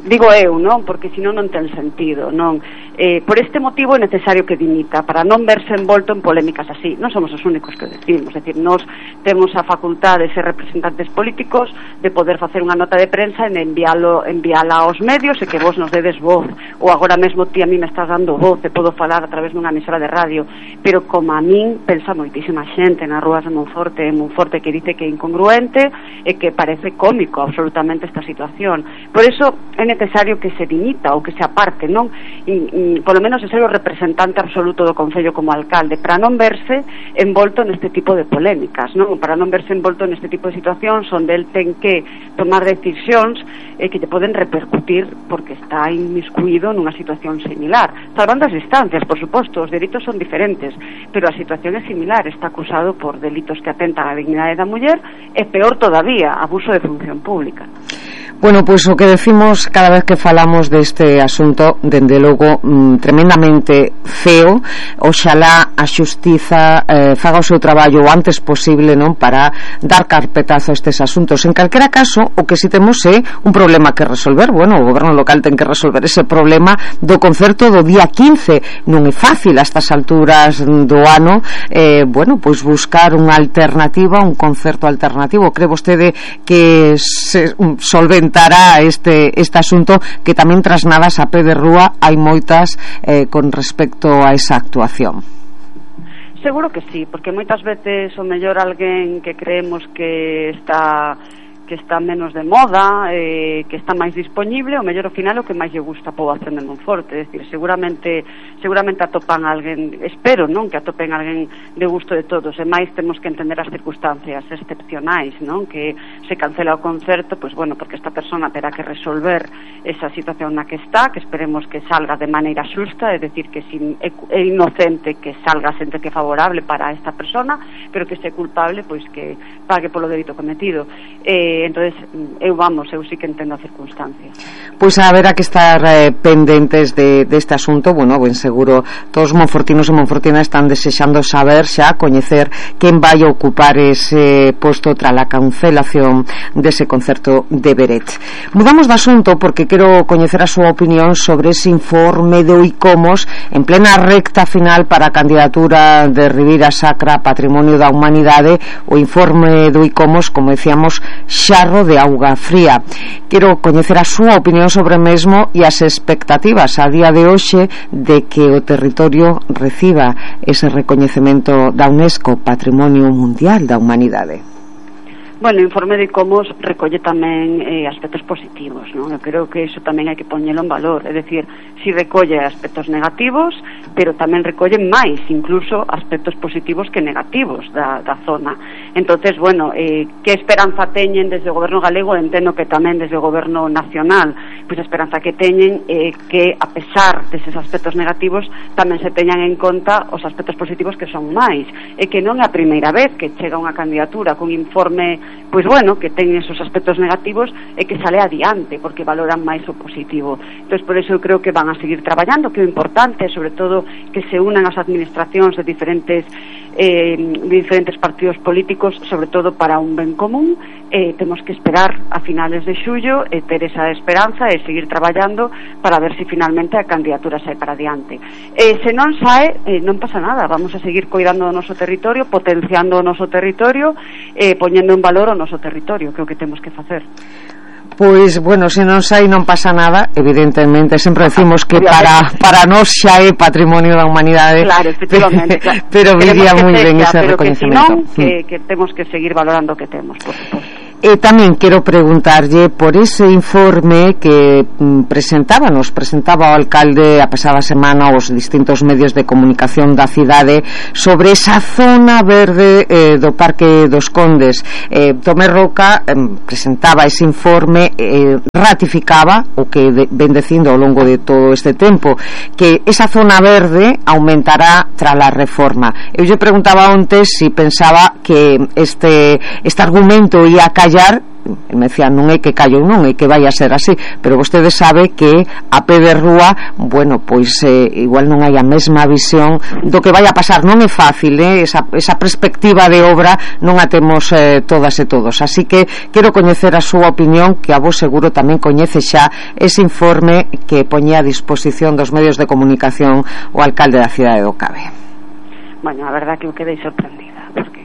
digo eu, non? Porque senón non ten sentido, non? Por este motivo é necesario que dimita, para non verse envolto en polémicas así. Non somos os únicos que o decimos, é dicir, nós temos a facultade de ser representantes políticos, de poder facer unha nota de prensa e enviala aos medios e que vos nos dedes voz, ou agora mesmo ti a mí me estás dando voz, e podo falar a través dunha emisora de radio, pero como a min pensa moitísima xente nas rúas de Monforte que dice que é incongruente e que parece cómico absolutamente esta situación. Por eso é necesario que se dimita ou que se aparte, non? Polo menos é ser o representante absoluto do Concello como alcalde, para non verse envolto neste tipo de polémicas, non? Para non verse envolto neste tipo de situacións onde el ten que tomar decisións que lle poden repercutir porque está inmiscuído nunha situación similar, salvando as distancias, por suposto, os delitos son diferentes, pero a situación é similar, está acusado por delitos que atentan á dignidade da muller e peor todavía, abuso de función pública. Bueno, pois o que decimos cada vez que falamos deste asunto, dende logo, tremendamente feo. Oxalá a xustiza faga o seu traballo o antes posible, non, para dar carpetazo a estes asuntos. En calquera caso, o que si temos é un problema que resolver. Bueno, o goberno local ten que resolver ese problema do concerto do día 15. Non é fácil a estas alturas do ano, bueno, pois buscar unha alternativa, un concerto alternativo. Cree vostede que se solventará este asunto, que tamén trasnadas a pé de rúa hai moitas con respecto a esa actuación? Seguro que sí, porque moitas veces o mellor alguén que creemos que está menos de moda, que está máis dispoñible, o mellor ao final o que máis lle gusta a poboación de Monforte. É dicir, seguramente atopan alguén, espero, non, que atopen alguén de gusto de todos, e máis temos que entender as circunstancias excepcionais, non, que se cancela o concerto, pois bueno, porque esta persona terá que resolver esa situación na que está, que esperemos que salga de maneira xusta, é dicir, que si é inocente, que salga a sentencia favorable para esta persona, pero que se culpable, pois que pague polo delito cometido. Entonces, eu sí que entendo a circunstancia. Pois haberá que estar pendentes deste asunto. Bueno, ben seguro todos os monfortinos e monfortinas están desexando saber, xa coñecer quen vai ocupar ese posto tras a cancelación dese concerto de Beret. Mudamos de asunto porque quero coñecer a súa opinión sobre ese informe do ICOMOS en plena recta final para a candidatura de Ribeira Sacra Patrimonio da Humanidade. O informe do ICOMOS, como decíamos, xarro de auga fría. Quero coñecer a súa opinión sobre o mesmo e as expectativas a día de hoxe de que o territorio reciba ese recoñecemento da UNESCO Patrimonio Mundial da Humanidade. Bueno, o informe de ICOMOS recolle tamén aspectos positivos, non? Eu creo que iso tamén hai que poñelo en valor, é dicir, si recolle aspectos negativos, pero tamén recolle máis, incluso aspectos positivos que negativos da zona. Entonces, bueno, que esperanza teñen desde o goberno galego, entendo que tamén desde o goberno nacional, pois a esperanza que teñen que, a pesar deses aspectos negativos, tamén se teñan en conta os aspectos positivos que son máis, e que non é a primeira vez que chega unha candidatura con informe, pois bueno, que ten esos aspectos negativos e que sale adiante, porque valoran máis o positivo. Entón, por eso eu creo que van a seguir traballando, que o importante é, sobre todo, que se unan as administracións de diferentes partidos políticos, sobre todo para un ben común. Temos que esperar a finales de xullo e ter esa esperanza e seguir traballando para ver se finalmente a candidatura sae para adiante. Se non sae, non pasa nada, vamos a seguir coidando do noso territorio, potenciando o noso territorio, poñendo en valor o noso territorio, que é o que temos que facer. Pois, bueno, se non sai non pasa nada, evidentemente, sempre decimos que para nós xa é patrimonio da humanidade. Claro, efectivamente, claro. Pero viría moi ben ese reconhecimento. Que temos que seguir valorando o que temos, por suposto. Tamén quero preguntarlle por ese informe que presentaba o alcalde a pasada semana aos distintos medios de comunicación da cidade sobre esa zona verde do Parque dos Condes. Tomé Roca presentaba ese informe, ratificaba o que ven dicindo ao longo de todo este tempo, que esa zona verde aumentará tras a reforma. Eu lle preguntaba antes si pensaba que este argumento ia callar. El me decía, non é que callo, non é que vai a ser así, pero vostede sabe que a pé de rúa, bueno, pois igual non hai a mesma visión do que vai a pasar. Non é fácil, esa perspectiva de obra non a temos todas e todos, así que quero coñecer a súa opinión, que a vos seguro tamén coñece xa ese informe que poñía a disposición dos medios de comunicación o alcalde da cidade do Cabe. Bueno, a verdad que eu quedei sorprendida, porque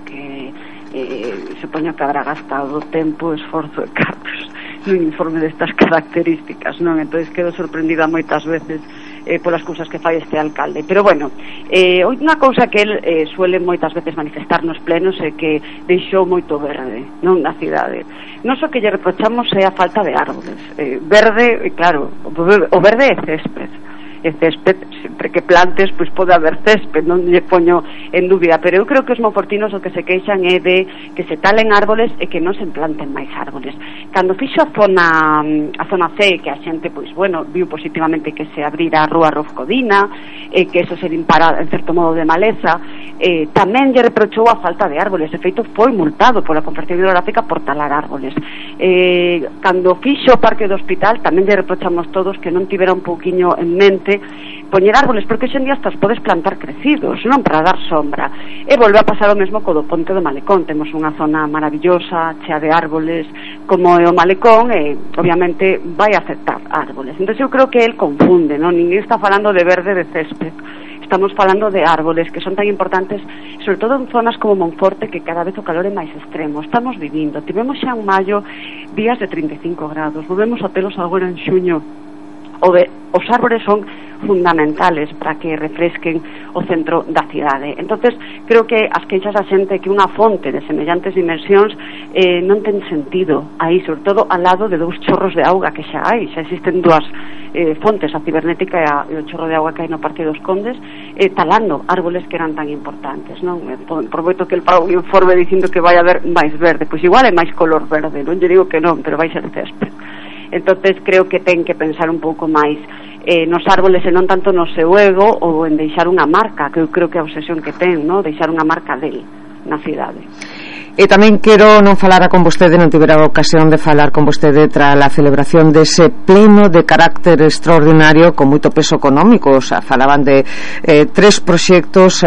supoño que habrá gastado tempo e esforzo de cartos nun informe destas características, non? Entón quedo sorprendida moitas veces polas cousas que fai este alcalde. Pero bueno, unha cousa que el suele moitas veces manifestar nos plenos é que deixou moito verde, non, na cidade. Non só que lle reprochamos é a falta de árboles. Verde, claro, o verde é césped. E césped, sempre que plantes, pois pode haber césped, non lle poño en dúbida, pero eu creo que os monfortinos o que se queixan é de que se talen árboles e que non se planten máis árboles. Cando fixo a zona C, que a xente, pois bueno, viu positivamente que se abrira a rúa Rofcodina, que eso se limpara en certo modo de maleza, tamén lle reprochou a falta de árboles. De feito, foi multado pola Confederación Hidrográfica por talar árboles. Cando fixo o Parque do Hospital, tamén lle reprochamos todos que non tivera un pouquiño en mente poñer árboles, porque hoxe en día estas podes plantar crecidos, non para dar sombra. E volve a pasar o mesmo co do Ponte do Malecón. Temos unha zona maravillosa, chea de árboles, como é o Malecón, e obviamente vai a aceptar árboles. Entón eu creo que el confunde, non? Ninguén está falando de verde de césped. Estamos falando de árboles que son tan importantes, sobre todo en zonas como Monforte, que cada vez o calor é máis extremo. Estamos vivindo, tivemos xa en maio días de 35 grados, volvemos a telos agora en xuño. Os árboles son fundamentales para que refresquen o centro da cidade. Entonces creo que as queixas da xente que unha fonte de semellantes dimensións non ten sentido aí, sobre todo ao lado de dous chorros de auga que xa hai. Xa existen dúas fontes, a cibernética e o chorro de auga que hai no Parque dos Condes, talando árboles que eran tan importantes, non? Prometo que el pago un informe dicindo que vai haber máis verde, pois igual é máis color verde, non lle digo que non, pero vai ser césped. Entonces creo que ten que pensar un pouco máis nos árboles e non tanto no seu ego ou en deixar unha marca, que eu creo que é a obsesión que ten, non? Deixar unha marca del na cidade. E tamén quero non falara con vostede, non tivera a ocasión de falar con vostede tras a celebración dese pleno de carácter extraordinario con moito peso económico. O sea, falaban de 3 proxectos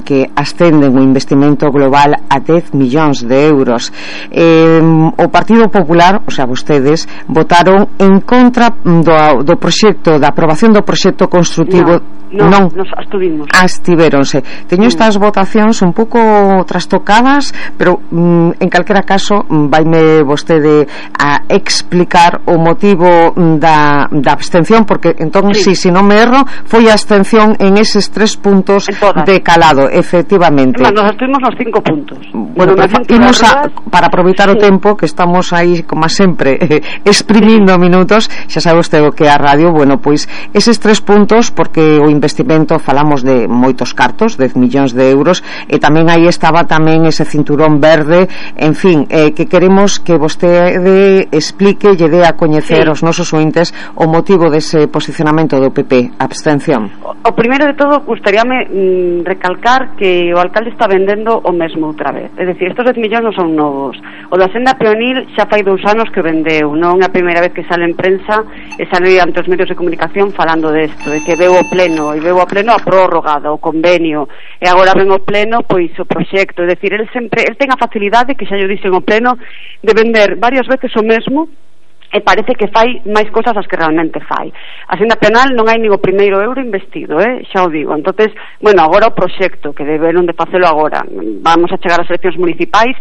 que ascenden o investimento global a 10 millóns de euros. O Partido Popular, o sea, vostedes votaron en contra do proxecto, da aprobación do proxecto construtivo. Non, nos abstivéronse. Teño estas votacións un pouco trastocadas, pero en calquera caso vaime vostede a explicar o motivo da abstención, porque entón, si non me erro, foi a abstención en eses 3 puntos de calado, efectivamente. Nos abstuvimos nos 5 puntos. Bueno, imos para aproveitar o tempo, que estamos aí, como sempre, exprimindo minutos, xa sabe usted o que é a radio. Bueno, pois eses 3 puntos, porque o investimento, falamos de moitos cartos, 10 millóns de euros, e tamén aí estaba tamén ese cinturón verde, en fin, que queremos que vostede explique, lle dé a coñecer aos nosos ointes o motivo dese posicionamento do PP, abstención. O primeiro de todo, gustaríame recalcar que o alcalde está vendendo o mesmo outra vez, é dicir, estos 10 millóns non son novos, o da Senda Peonil xa fai 2 anos que vendeu, non é a primeira vez que sale en prensa e sale ante os medios de comunicación falando desto, de que veu o pleno, e veu o pleno a prórroga do convenio, e agora ven o pleno pois o proxecto, é dicir, el ten a facilidade, que xa yo dixen o pleno, de vender varias veces o mesmo, e parece que fai máis cousas as que realmente fai. A Senda Penal non hai nin o primeiro euro investido, xa o digo. Entonces, bueno, agora o proxecto, que deberon de facelo agora, vamos a chegar ás eleccións municipais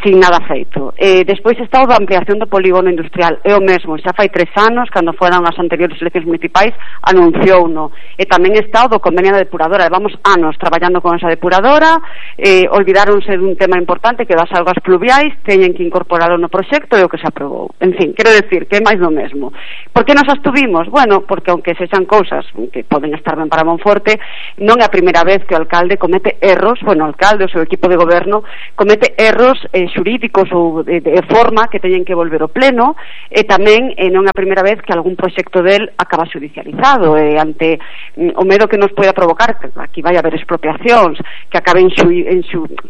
sin nada feito. Despois está o da ampliación do polígono industrial, é o mesmo, xa fai 3 anos, cando foran as anteriores eleccións municipais, anunciouno. E tamén está o do convenio da depuradora, levamos anos traballando con esa depuradora, olvidáronse dun tema importante que das augas pluviais, teñen que incorporarlo no proxecto e o que se aprobou. En fin, quero decir que é máis do mesmo. Por que nos abstuvimos? Bueno, porque aunque sexan cousas que poden estar ben para Monforte, non é a primeira vez que o alcalde comete erros, bueno, o alcalde, o seu equipo de goberno comete erros xurídicos ou de forma que teñen que volver ao pleno, e tamén non é a primeira vez que algún proxecto del acaba judicializado, ante o medo que nos poida provocar, que aquí vai haber expropiacións, que acaben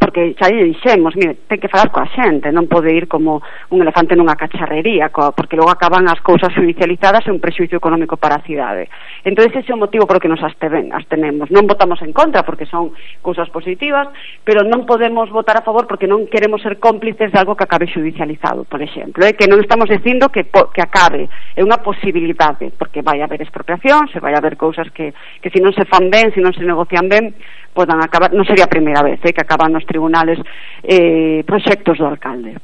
porque xa lle dixemos, mire, ten que falar coa xente, non pode ir como un elefante nunha cacharrería, porque logo acaban as cousas judicializadas e un prexuicio económico para a cidade. Entón ese é o motivo por que nos abstenemos. Non votamos en contra porque son cousas positivas, pero non podemos votar a favor porque non queremos ser cómplices de algo que acabe judicializado, por exemplo, que non estamos dicindo que acabe, é unha posibilidade, porque vai haber expropiación, se vai haber cousas que se non se fan ben, se non se negocian ben, podan acabar, non sería a primeira vez que acaban nos tribunales proxectos do alcalde.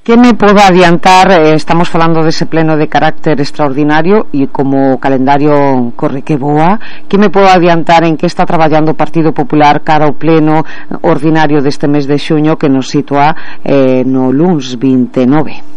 Que me podo adiantar, estamos falando dese pleno de carácter extraordinario e como o calendario corre que boa, que me podo adiantar en que está traballando o Partido Popular cara ao pleno ordinario deste mes de xuño que nos sitúa no luns 29?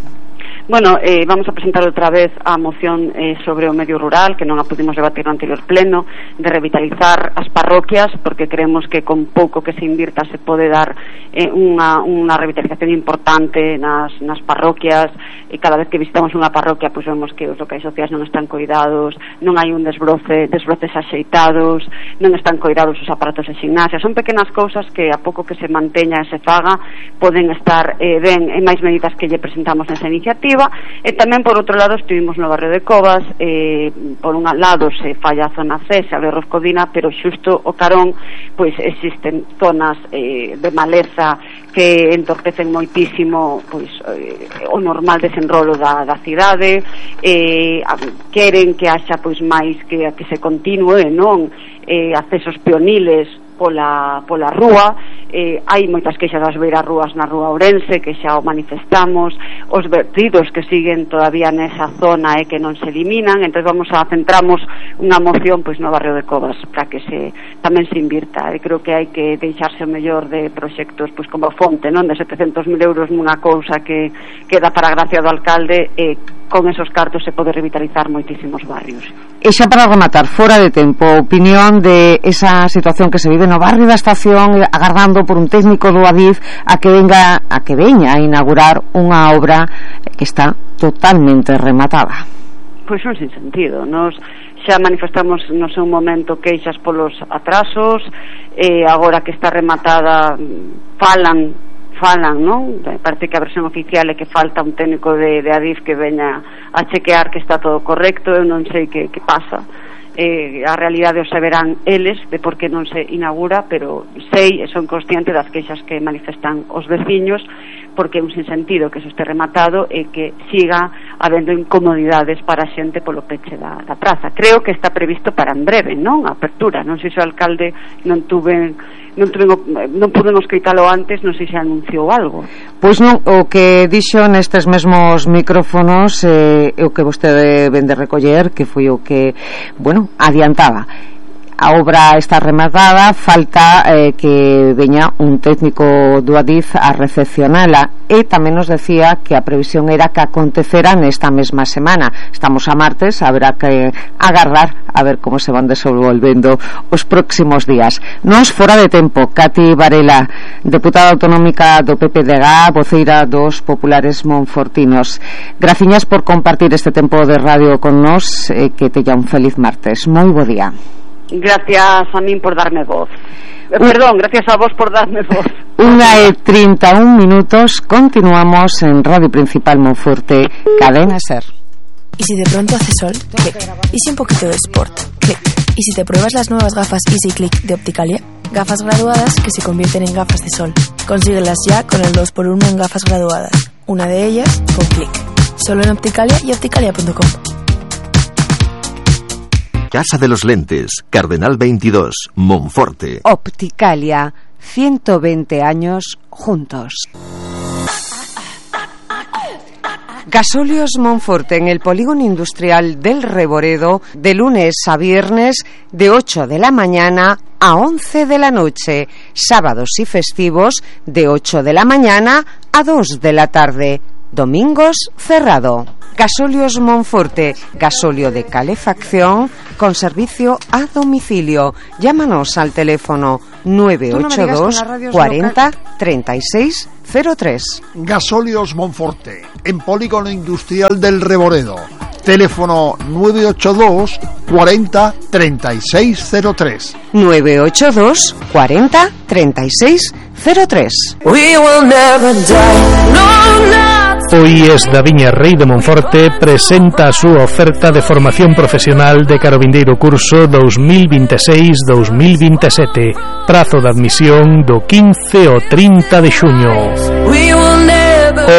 Bueno, vamos a presentar outra vez a moción sobre o medio rural, que non a pudimos debatir no anterior pleno, de revitalizar as parroquias, porque creemos que con pouco que se invirta se pode dar unha revitalización importante nas parroquias, e cada vez que visitamos unha parroquia pois vemos que os locais sociais non están coidados, non hai un desbroces axeitados, non están coidados os aparatos de gimnasia. Son pequenas cousas que a pouco que se manteña e se faga poden estar ben, e máis medidas que lle presentamos nesa iniciativa. E tamén por outro lado estuvimos no barrio de Covas, por un lado se falla a zona C, se abre Roscodina, pero xusto o carón pois existen zonas de maleza que entorpecen moitísimo pois o normal desenrolo da cidade, queren que haxa pois máis que se continue, non accesos peoniles pola rúa, hai moitas queixas das beirarrúas na rúa Ourense, que xa o manifestamos, os vertidos que siguen todavía nesa zona e que non se eliminan. Entón centramos unha moción pois no barrio de Covas para que tamén se invirta, e creo que hai que deixarse o mellor de proxectos pois como a Fonte, non, de 700.000 euros nunha cousa que queda para a gracia do alcalde, e con esos cartos se pode revitalizar moitísimos barrios. E xa para rematar, fora de tempo, opinión de esa situación que se vive no barrio da Estación, agardando por un técnico do Adif a que veña a inaugurar unha obra que está totalmente rematada. Pois un sin sentido. Nos xa manifestamos no seu momento queixas polos atrasos, agora que está rematada falan, non? Parece que a versión oficial é que falta un técnico de Adif que veña a chequear que está todo correcto. Eu non sei que pasa, a realidade o saberán eles de por que non se inaugura, pero sei e son consciente das queixas que manifestan os veciños, porque é un sinsentido que se este rematado e que siga habendo incomodidades para a xente polo peche da praza. Creo que está previsto para en breve, non? A apertura, non sei se o alcalde non pudemos escritalo antes, non sei se anunciou algo. Pois non, o que dixo nestes mesmos micrófonos o que vostede vende recoller, que foi o que, bueno, adiantaba. a obra está rematada, falta que veña un técnico do Adif a recepcionala, e tamén nos decía que a previsión era que acontecera nesta mesma semana. Estamos a martes, haberá que agardar a ver como se van desenvolvendo os próximos días. Nos fora de tempo, Cati Varela, deputada autonómica do PPDG, voceira dos populares monfortinos. Graciñas por compartir este tempo de radio con nos, que teña un feliz martes. Moi bo día. Gracias a min por darme voz. Perdón, gracias a vos por darme voz. 1:31, continuamos en Radio Principal Monforte, Cadena SER. ¿Y si de pronto hace sol? Clic. ¿Y si un poquito de sport? Clic. ¿Y si te pruebas las nuevas gafas Easy Click de Opticalia? Gafas graduadas que se convierten en gafas de sol. Consíguelas ya con el 2x1 en gafas graduadas. Una de ellas con Clic. Solo en Opticalia y opticalia.com. Casa de los Lentes, Cardenal 22, Monforte. Opticalia, 120 años juntos. Gasóleos Monforte en el polígono industrial del Reboredo, de lunes a viernes de 8 de la mañana a 11 de la noche, sábados y festivos de 8 de la mañana a 2 de la tarde, domingos cerrado. Gasóleos Monforte, gasóleo de calefacción con servicio a domicilio. Llámanos al teléfono 982 40 36 03. Gasóleos Monforte, en polígono industrial del Reboredo. Teléfono 982 40 36 03. 982 40 36 03. Hoy es Daviña Rey de Monforte presenta su oferta de formación profesional de Carovindeiro curso 2026-2027. Prazo de admisión do 15 o 30 de xuño.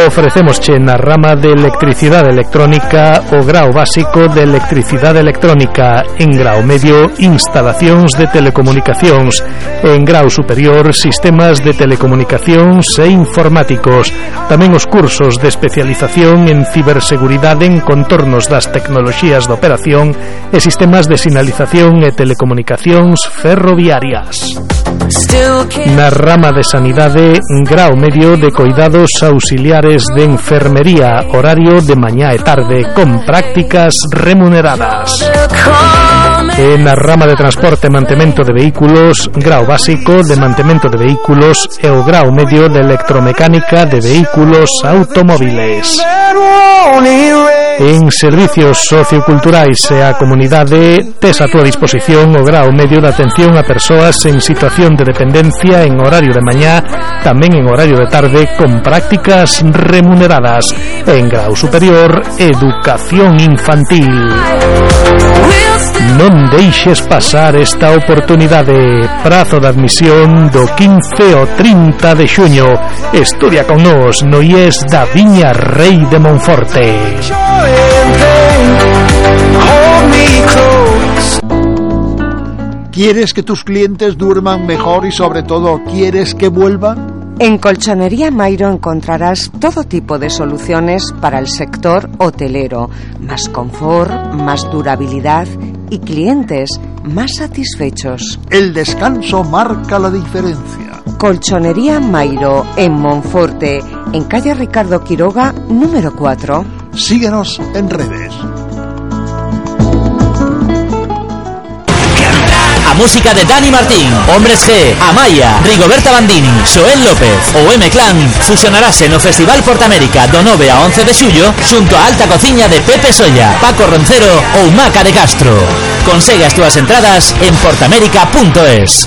Ofrecemosche na rama de electricidade electrónica o grao básico de electricidade electrónica, en grao medio instalacións de telecomunicacións, en grao superior sistemas de telecomunicacións e informáticos. Tamén os cursos de especialización en ciberseguridade en contornos das tecnoloxías de operación e sistemas de sinalización e telecomunicacións ferroviarias. Na rama de sanidade, grao medio de coidados auxiliares de enfermería, horario de mañá e tarde, con prácticas remuneradas. E na rama de transporte e mantemento de vehículos, grao básico de mantemento de vehículos e o grao medio de electromecánica de vehículos automóviles. En servicios socioculturais e a comunidade, tes a túa disposición o grao medio de atención a persoas en situación de dependencia en horario de mañá, tamén en horario de tarde, con prácticas remuneradas. En grao superior, educación infantil. Non deixes pasar esta oportunidade. Prazo de admisión do 15 o 30 de xuño. Estudia con nos no IES da Viña Rei de Monforte. ¿Quieres que tus clientes duerman mejor y sobre todo quieres que vuelvan? En Colchonería Mairo encontrarás todo tipo de soluciones para el sector hotelero. Más confort, más durabilidad y clientes más satisfechos. El descanso marca la diferencia. Colchonería Mairo en Monforte, en calle Ricardo Quiroga, número 4. Síguenos en redes. A música de Dani Martín, Hombres G, Amaya, Rigoberta Bandini, Xoel López ou M-Clan fusionarase no Festival Portamérica do 9 a 11 de xullo xunto a alta cociña de Pepe Solla, Paco Roncero ou Maca de Castro. Consegue as túas entradas en portamérica.es.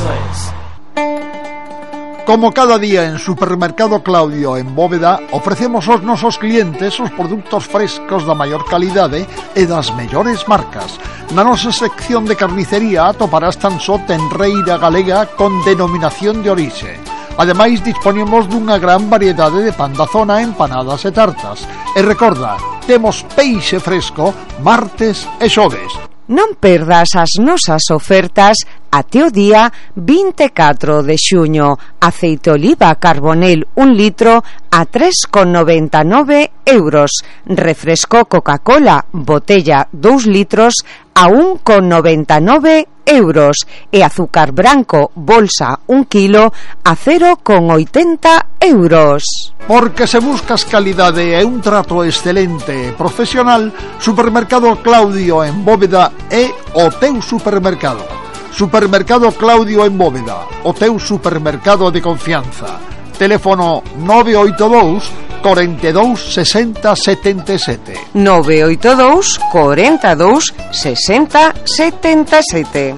Como cada día en Supermercado Claudio en Bóveda, ofrecemos aos nosos clientes os produtos frescos da maior calidade e das mellores marcas. Na nosa sección de carnicería atoparás tan só tenreira galega con denominación de orixe. Ademais, disponemos dunha gran variedade de pan da zona, empanadas e tartas. E recorda, temos peixe fresco martes e xoves. Non perdas as nosas ofertas até o día 24 de xuño. Aceite oliva Carbonel 1 litro a 3,99 euros. Refresco Coca-Cola botella 2 litros a 1,99 euros e azúcar branco bolsa 1 kilo a 0,80 euros. Porque se buscas calidade e un trato excelente e profesional, Supermercado Claudio en Bóveda é o teu supermercado. Supermercado Claudio en Bóveda, o teu supermercado de confianza. Teléfono 982 42 60 77. 982 42 60 77.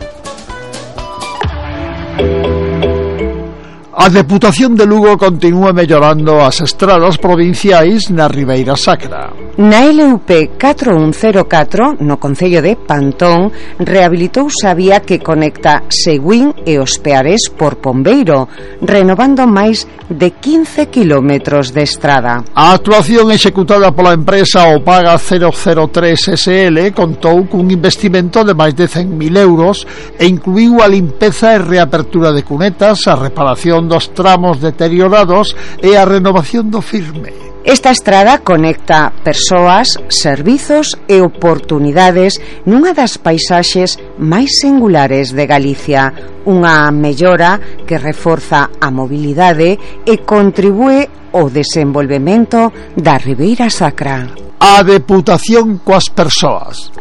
A Deputación de Lugo continúa mellorando as estradas provinciais na Ribeira Sacra. Na LUP 4104, no concello de Pantón, rehabilitouse a vía que conecta Seguín e Os Pearés por Pombeiro, renovando máis de 15 kilómetros de estrada. A actuación executada pola empresa Opaga 003 SL contou cun investimento de máis de 100.000 euros e incluiu a limpeza e reapertura de cunetas, a reparación dos tramos deteriorados e a renovación do firme. Esta estrada conecta persoas, servizos e oportunidades nunha das paisaxes máis singulares de Galicia, unha mellora que reforza a mobilidade e contribúe ao desenvolvemento da Ribeira Sacra. A Deputación coas persoas.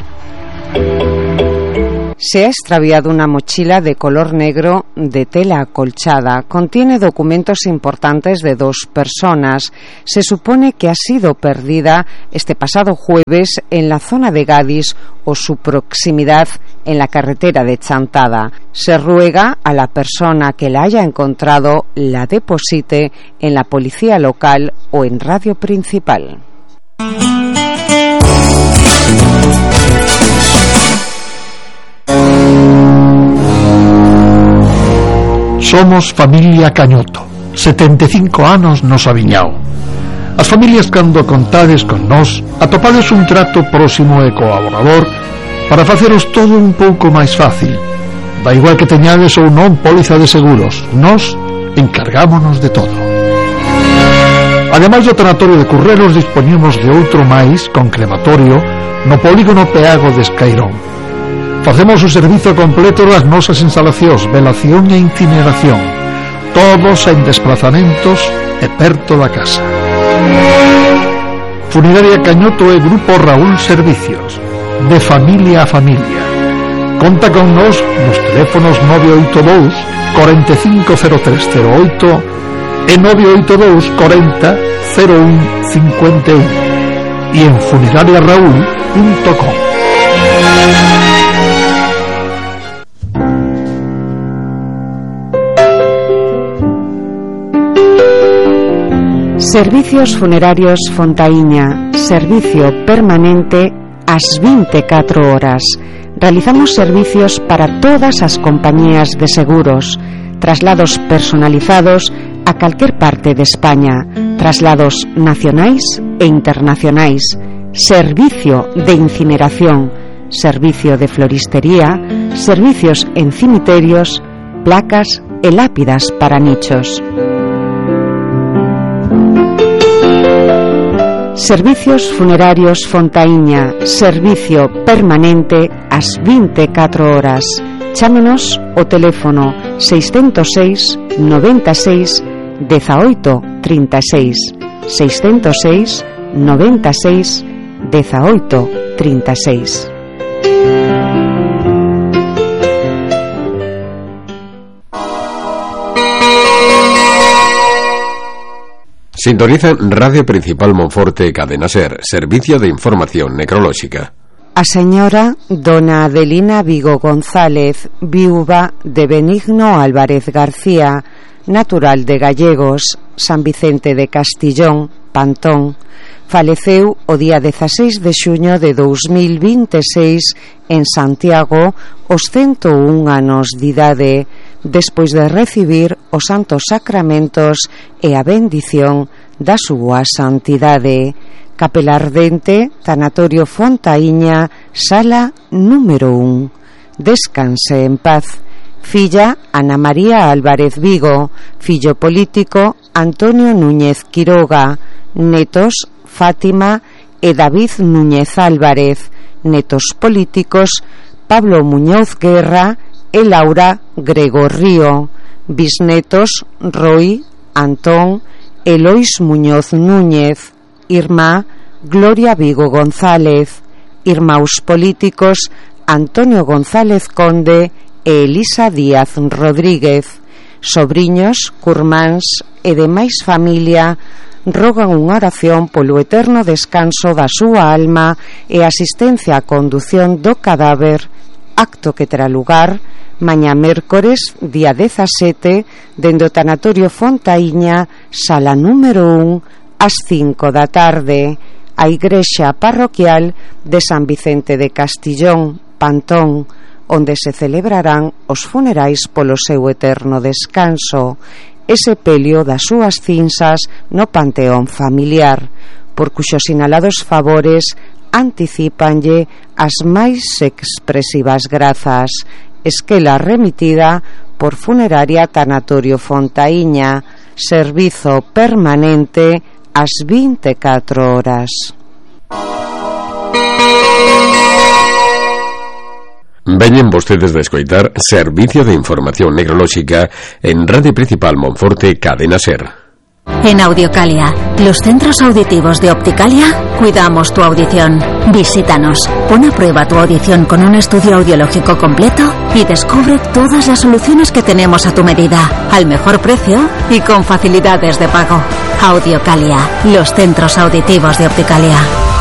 Se ha extraviado una mochila de color negro de tela acolchada. Contiene documentos importantes de 2 personas. Se supone que ha sido perdida este pasado jueves en la zona de Gadis o su proximidad en la carretera de Chantada. Se ruega a la persona que la haya encontrado la deposite en la policía local o en Radio Principal. Somos familia Cañoto, 75 anos nos aviñao. As familias cando contades con nós atopades un trato próximo e colaborador para faceros todo un pouco máis fácil. Da igual que teñades ou non póliza de seguros, nós encargámonos de todo. Ademais do tanatorio de Currelos, dispoñemos de outro máis con crematorio no polígono Peago de Escairón. Facemos o servizo completo das nosas instalacións, velación e incineración, todos en desplazamentos e perto da casa. Funeraria Cañoto e Grupo Raúl Servicios, de familia a familia. Conta con nos nos teléfonos 982 450308 e 982 40 01 51 e en funerariaraúl.com. Servicios Funerarios Fontaíña, servicio permanente ás 24 horas. Realizamos servicios para todas as compañías de seguros, traslados personalizados a calquer parte de España, traslados nacionais e internacionais, servicio de incineración, servicio de floristería, servicios en cimiterios, placas e lápidas para nichos. Servicios Funerarios Fontaíña, servicio permanente ás 24 horas. Chámenos o teléfono 606 96 18 36, 606 96 18 36. Sintonizan Radio Principal Monforte Cadena Ser, servicio de información necrolóxica. A señora dona Adelina Vigo González, viúva de Benigno Álvarez García, natural de Gallegos, San Vicente de Castillón, Pantón, faleceu o día 16 de xuño de 2026 en Santiago aos 101 anos de idade, despois de recibir os santos sacramentos e a bendición da súa santidade. Capela Ardente, Tanatorio Fontaíña, sala número 1. Descanse en paz. Filla Ana María Álvarez Vigo, fillo político Antonio Núñez Quiroga, netos Fátima e David Núñez Álvarez, netos políticos Pablo Muñoz Guerra e Laura Gregorio. Bisnetos Roy, Antón, Elois Muñoz Núñez. Irmá Gloria Vigo González. Irmãos políticos Antonio González Conde e Elisa Díaz Rodríguez. Sobriños, curmáns e demais familia rogan unha oración polo eterno descanso da súa alma e asistencia á condución do cadáver, acto que terá lugar mañá mércores, día 17, dende o tanatorio Fontaíña, sala número 1, ás 5 da tarde, a igrexa parroquial de San Vicente de Castillón, Pantón, onde se celebrarán os funerais polo seu eterno descanso e sepelio das súas cinsas no panteón familiar, por cuxos sinalados favores anticipanlle as máis expresivas grazas. Esquela remitida por Funeraria Tanatorio Fontaíña, servizo permanente ás 24 horas. Veñen vostedes de escoitar Servicio de Información Necrolóxica en Radio Principal Monforte, Cadena SER. En Audiocalia, los centros auditivos de Opticalia, cuidamos tu audición. Visítanos, pon a prueba tu audición con un estudio audiológico completo y descubre todas las soluciones que tenemos a tu medida, al mejor precio y con facilidades de pago. Audiocalia, los centros auditivos de Opticalia.